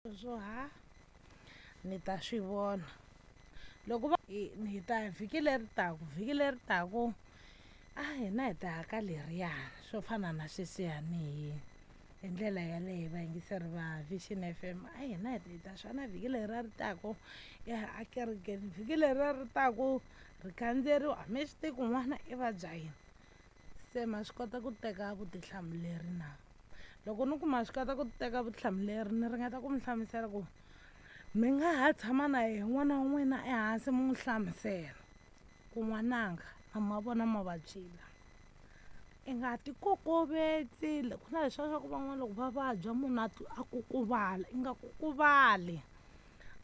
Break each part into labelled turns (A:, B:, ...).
A: Swo ha ni ta swi vona loko va hi ta vhiki leri taku, vhiki leri taku a hina hi ta ya ka leriyani swo fana na sweswiyani hi ndlela yaleyo vayingiseri va Vision FM. A hina hi ta swana vhiki leri ri taku ya a kerekeni, vhiki leri ri taku ri khandzeriwa, a mi swi tivi ku n'wana i vabya yini. Se ma swi kota ku teka vutihlamuleri na? Loko ni ku ma swi kota ku teka vutihlamuleri, ni ringeta ku mi hlamusela ku mi nga ha tshama na yehe n'wana wa n'wina ehansi, mi n'wi hlamusela ku n'wananga na ma vona mavabyi lama, i nga ti kokovetsi. Ku na leswiya swa ku van'wana loko va vabya munhu a kukuvala, i nga kukuvali,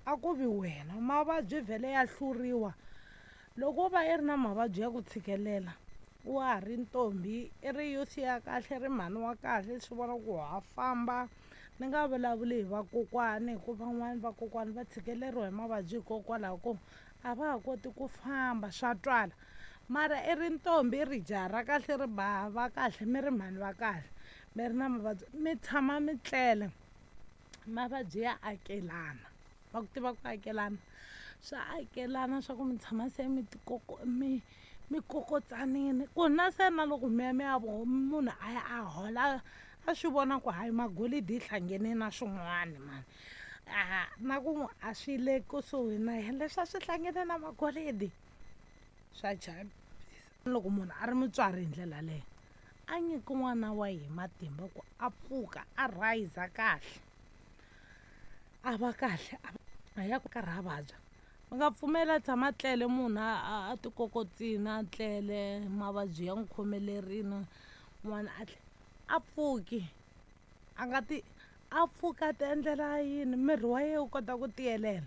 A: a ku vi wena. Mavabyi vhele ya hluriwa. Loko wo va i ri na mavabyi ya ku tshikelela, wa ha ri ntombi, i ri youth ya kahle, ri mhani wa kahle, swi vona ku ha famba. Ni nga vulavuli hi vakokwani, hikuva van'wani vakokwani va tshikeleriwa hi mavabyi hikokwalaho ko a va ha koti ku famba, swa twala. Mara i ri ntombi, i ri jaha ra kahle, ri bava kahle, mi ri mhani va kahle, mi ri na mavabyi, mi tshama mi tlele, mavabyi ya akelana. Va ku tiva ku akelana, swa akelana swa ku mi tshama se mi tikoko mi kokotsanini ku na se na loko mi ya mi ya munhu a ya a hola, a swi vona ku hayi magolidi yi hlangene na swin'wana mani, a na ku a swi le kusuhi na yena leswi a swi hlangene na magolidi, swa chavisa. Loko munhu a ri mutswari hi ndlela leyo, a nyiki n'wana wa yehe matimba ku a pfuka a rayiza kahle, a va kahle, a ya ku karhi a vabya. Mi nga pfumeli a tshama tlele munhu a tikokotsini, a tlele mavabyi ya n'wi khomelerini, n'wana a tle a pfuki, a nga ti a pfuka a ti endlela yini, miri wa yena wu kota ku tiyelela.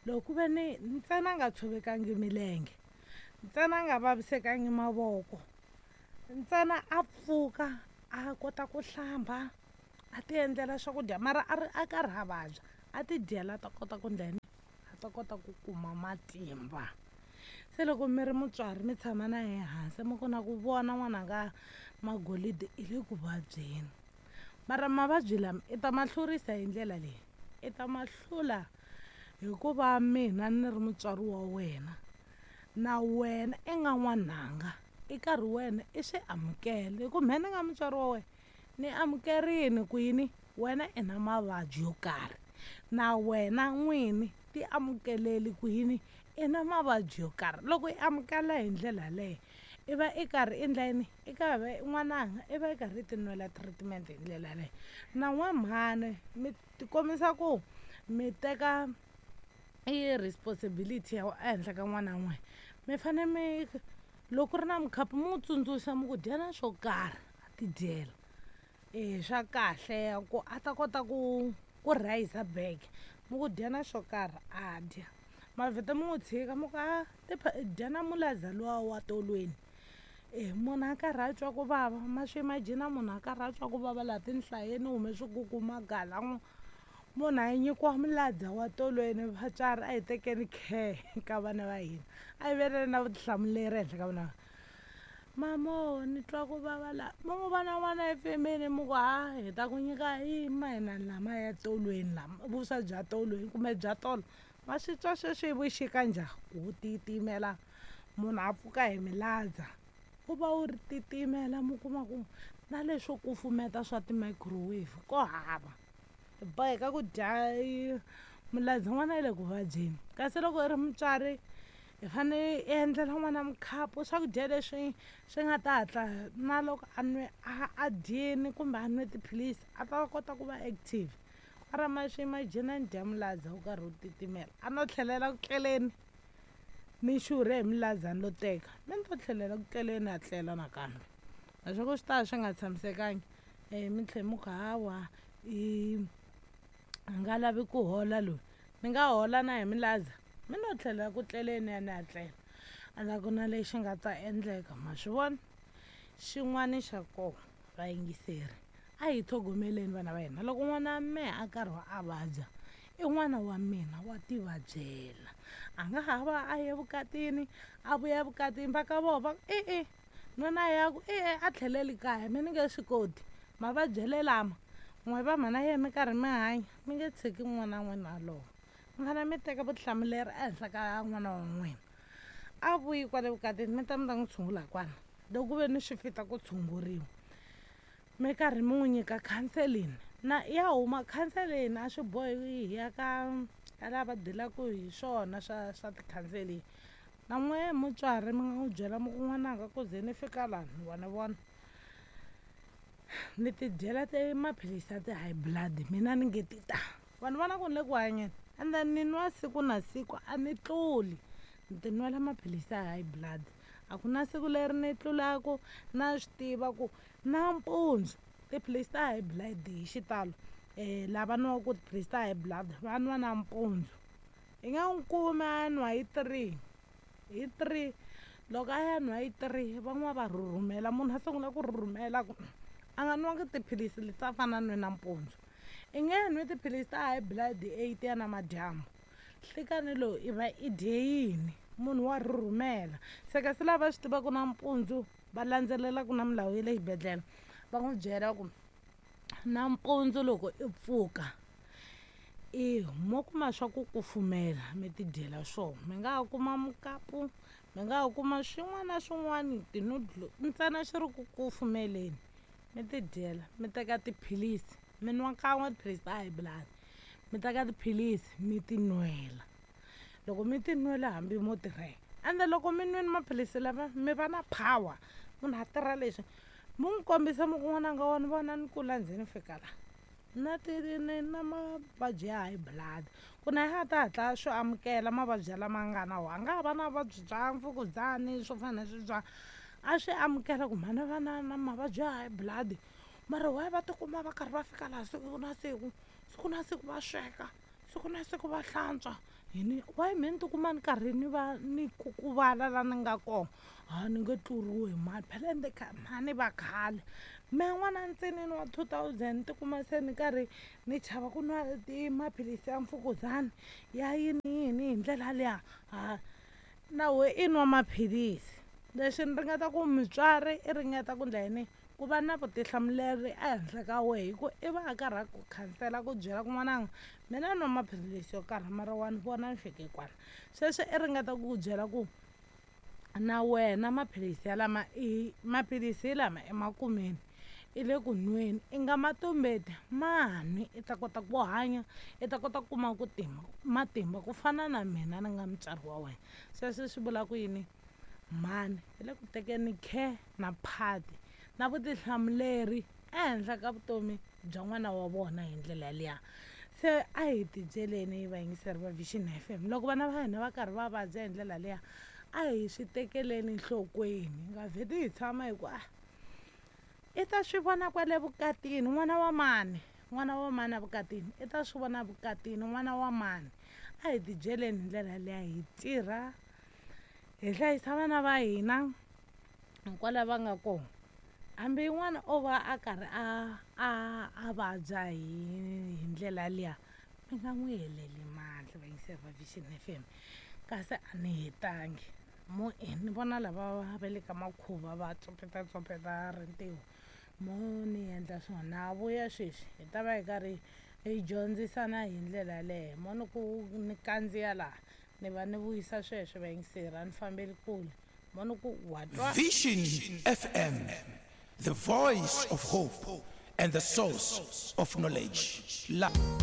A: Loko ku ve ni ntsena a nga tshovekangi milenge, ntsena a nga vavisekangi mavoko, ntsena a pfuka a kota ku hlamba, a ti endlela swakudya, mara a ri a karhi a vabya, a ti dyela, a ta kota ku ndla yini, a ta kota ku kuma matimba. Se loko mi ri mutswari, mi tshama na yehe hansi, mi ku na ku vona n'wananga magolidi i le ku vabyeni, mara mavabyi lama i ta ma hlurisa hi ndlela leyi, i ta ma hlula hikuva mina ni ri mutswari wa wena, na wena i nga n'wananga, i karhi wena i swi amukela, hi ku mehe ni nga mutswari wa wena ni amukerini ku yini wena i na mavabyi yo karhi, na wena n'wini ti amukeleli ku yini i na mavabyi yo karhi. Loko i amukela hi ndlela yaleyo, i va i karhi i ndla yini, i karhi n'wananga i va i karhi i ti nwela treatment hi ndlela yaleyo. Na n'we mhani mi tikombisa ku mi teka i responsibility ya ehenhla ka n'wana n'we, mi fane mi loko ku ri na mukhapu mi n'wi tsundzuxa, mi ku dyana swo karhi, a ti dyela e swa kahle ku a ta kota ku rayiza back, mi ku dyana swo karhi a dya. Mavheta mi n'wi tshika, mi ku a dyana mulaza luwa wa tolweni. E munhu a karhi a twa ku vava, ma swi imagine munhu a karhi a twa ku vava laha tinhlayeni, hume swikukuma gala, munhu a nyikiwa muladza wa tolweni. Vatswari a hi tekeni care ka vana va hina, a hi veleni na vutihlamuleri ehenhla ka vana. Mamo ni twa ku vava la, mi n'wi vona n'wana efemeni, mi ku ha hi ta ku nyika i mayinani lama ya tolweni, lama vuswa bya tolweni kumbe bya tolo. Ma swi twa sweswi hi vuxika njhani ku titimela, munhu a pfuka hi miladza, u va wu ri titimela, mi kuma ku na leswo kufumeta swa ti-microwave ko hava, hi boheka ku dya muladza, n'wana yi le ku vabyeni. Kasi loko i ri mutswari, i fane i endlela n'wana mukhapu, swakudya leswi swi nga ta hatla na loko a nwe a dyini kumbe a nwe tiphilisi, a ta kota ku va active. Mara ma swi imagine ni dya muladza wu karhi wu titimela, a no tlhelela ku tleleni, ni xurhe hi miladza, ni lo teka mi ni to tlhelela ku tleleni, a tlela nakambe, naswona swi ta swi nga tshamisekangi. Mi tlhe mi ku hawa i a nga lavi ku hola loyi, ni nga hola na hi milaza, mi no tlhelela ku tleleni ya ni ya tlela, a la ku na lexi nga ta endleka. Ma swi vona xin'wana xa kona, vayingiseri, a hi tlhogomeleni vana va hina. Loko n'wana wa mehe a karhi a vabya, i n'wana wa mina wa tivabyela, a nga ha va a ye vukatini, a vuya vukatini, va ka vona va e-e, nuna ya ku e-e, a tlheleli kaya, mi ni nge swi koti mavabyele lama. N'we va mhana yena mi karhi mi hanya mi nge tshiki n'wana n'wina a lova. Mi fanele mi teka vutihlamuleri ehenhla ka n'wana wa n'wina. A vuyi kwale vukatini mi ta mi ta n'wi tshungula kwala loko ku ve ni swi fita ku tshunguriwa. Mi karhi mi n'wi nyika counseling na ya huma counseling a swi bohi hi ya ka ka lava dilaka hi swona swa swa ti-counseling. Na n'we mutswari mi nga n'wi byela mi ku n'wananga ku ze ni fika lani wa ni vona ni ti dyela ti maphilisi ya ti-high blood mina ni nge ti ta vanhu vona ku ni le ku hanyeni and then ni nwa siku na siku a ni tluli ni ti nwela maphilisi ya high blood a ku na siku leri ni tlulaku na swi tiva ku nampundzu tiphilisi ta high blood hi xitalo um lava nwaku tiphilisi ta high blood va nwa nampundzu i nga n'wi kumi a nwa hi 3 hi 3 loko a ya nwa hi 3 van'wana va rhurhumela munhu a sungula ku rhurhumela ku a nga nwangi tiphilisi leti a fana nwe nampundzu i nge nwi tiphilisi ta high blood 8 ya namadyambu nhlikani lowu i va i dye yini munhu wa rhurhumela se kasi lava swi tivaka nampundzu va landzelelaka na milawu ya le xibedhlele va n'wi byela ku nampundzu loko i pfuka i mo kuma swa ku kufumela mi tidyela swona mi nga ha kuma mukapu mi nga ha kuma swin'wana na swin'wana ti-noodle ntsena swi ri ku kufumeleni mi tidyela mi teka tiphilisi mi nwa kan'we tiphilisi ta high blood mi teka tiphilisi mi ti nwela loko mi ti nwela hambi mo tirhela ende loko mi nwini maphilisi lama mi va na power munhu a tirha leswi mi n'wi kombisa mi ku n'wananga wa ni vona ni kula ndzi ni fika la na ti ni na mavabyi ya high blood ku na ya ta hatla swi amukela mavabyi lama nga na wona a nga ha va na vuvabyi bya mfukuzani swo fana na sweswiya a swi amukela ku mhani va na na mavabyi ya high blood mara why va tikuma va karhi va fika laha siku na siku siku na siku va sweka siku na siku va hlantswa yini why me ni tikuma ni karhi ni va ni kukuvala la ni nga kona a ni nge tluriwi hi mali phela ende mhani va khale mehe n'wana ntsinini wa 2000 ni tikuma se ni karhi ni chava ku nwa maphilisi ya mfukuzana ya yini yini hi ndlela liya ha na we i nwa maphilisi leswi ni ringeta ku mutswari i ringeta ku ndla yini ku va na vutihlamuleri ehenhla ka wehe hi ku i va a karhi a ku khansela ku byela ku n'wananga mina nwa maphilisi yo karhi mara wa ni vona ni fike kwala sweswo i ringeta ku ku byela ku na wena maphilisi ya lama i maphilisi lama emakumeni i le ku nweni i nga ma tumbeti ma nwi i ta kota ku hanya i ta kota ku kuma ku tima matimba ku fana na mina ni nga mutswari wa wena sweswo swi vula ku yini mhani hi le ku tekeni care na phati na vutihlamuleri ehenhla ka vutomi bya n'wana wa vona hi ndlela liya se a hi tibyeleni vayingiseri va Vision FM loko vana va hina va karhi va vabya hi ndlela liya a hi swi tekeleni nhlokweni hi nga vheti hi tshama hi ku a i ta swi vona kwale vukatini n'wana wa mani n'wana wa mani evukatini i ta swi vona vukatini n'wana wa mani a hi tibyeleni hi ndlela liya hi tirha hi hlayisa vana va hina kwala va nga kona hambi n'wana o va a karhi a a a vabya hi hi ndlela liya mi nga n'wi heleli mandla vayingiseri va Vision FM kasi a ni hetangi mo e ni vona lava va le ka makhuva va tsopeta tsopeta rintiho mo ni endla swona vuya sweswi hi ta va hi karhi hi dyondzisana hi ndlela yaleyo mo ni ku ni kandziya laha ni va ni vuyisa sweswo vayingiseri a ni fambeli kule mo ni ku wa twa
B: Vision FM, the voice of hope and the source of knowledge. La-